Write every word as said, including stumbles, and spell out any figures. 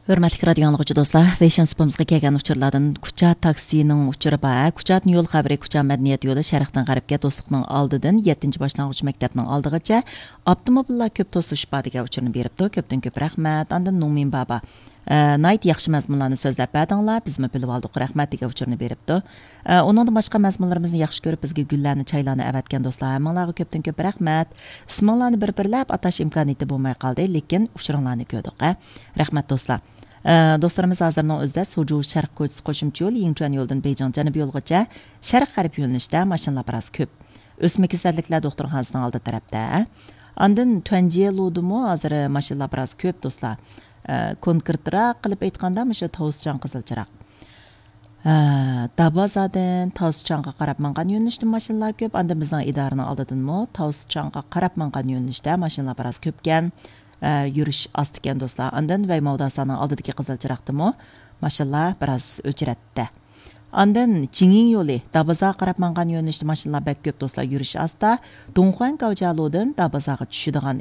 ھۆرمەتلىك رادىيو ئاڭلىغۇچى دوستلار، فېشن سۇپىمىزغا كەلگەن ئۇچۇرلاردىن كۇچا تاكسىنىڭ ئۇچۇرى بار. كۇچادىن يول خەۋىرى، كۇچا مەدەنىيەت يولى شەرقتىن غەربكە دوستلۇقنىڭ ئالدىدىن يەتتىنچى باشلانغۇچ مەكتەپنىڭ ئالدىغىچە ئاپتوموبىللار كۆپ توسۇلۇشۇپ بار دېگەن ئۇچۇرنى بېرىپتۇ. كۆپتىن كۆپ رەھمەت. ئاندىن نۇڭمىن بابا، ئە، ناھايىتى ياخشى مەزمۇنلارنى سۆزلەپ بەردىڭلار، بىزمۇ بىلىۋالدۇق، رەھمەت دېگەن ئۇچۇرنى بېرىپتۇ. ئە، ئۇنىڭدىن باشقا مەزمۇنلىرىمىزنى ياخشى كۆرۈپ، بىزگە گۈللەرنى، چايلارنى ئەۋەتكەن دوستلار، ھەممىڭلارغا كۆپتىن كۆپ رەھمەت. ئىسمىڭلارنى بىر-بىرلەپ ئاتاش ئىمكانىيىتى بولماي قالدى، لېكىن ئۇچۇرۇڭلارنى كۆردۇق، ھە. رەھمەت، دوستلار. ئە، دوستلىرىمىز ھازىرنىڭ ئۆزىدە سۇجۇ شەرق كوچىسى قوشۇمچە يول، يىڭچۈەن يولىدىن بېيجىڭ جەنۇبىي يولغىچە شەرق غەرب يۆنىلىشتە ماشىنىلار بىراز كۆپ. ئۆسمە كېسەللىكلەر دوختۇرخانىسىنىڭ ئالدى تەرەپتە. ئاندىن تۈەنجيېلۇدىمۇ ھازىر ماشىنىلار بىراز كۆپ، دوستلار. ئە، كونكرېتراق قىلىپ ئېيتقاندا، مۇشۇ تاۋسىچاڭ قىزىل چىراغ. ھە، دابازادىن تاۋسىچاڭغا قاراپ ماڭغان يۆنىلىشتە ماشىنىلار كۆپ. ئاندىن بىزنىڭ ئىدارىنىڭ ئالدىدىنمۇ تاۋسىچاڭغا قاراپ ماڭغان يۆنىلىشتە ماشىنىلار بىراز كۆپكەن. ئە، يۈرۈش ئاستىكەن، دوستلار. ئاندىن ۋەي ماۋداسانىڭ ئالدىدىكى قىزىل چىراغدىمۇ ماشىنىلار بىراز ئۆچرەتتە. ئاندىن جىڭيىڭ يولى، دابازاغا قاراپ ماڭغان يۆنىلىشتە ماشىنىلار بەك كۆپ، دوستلار، يۈرۈش ئاستا. دۇڭخۇەن گاۋجيالۇدىن دابازاغا چۈشىدىغان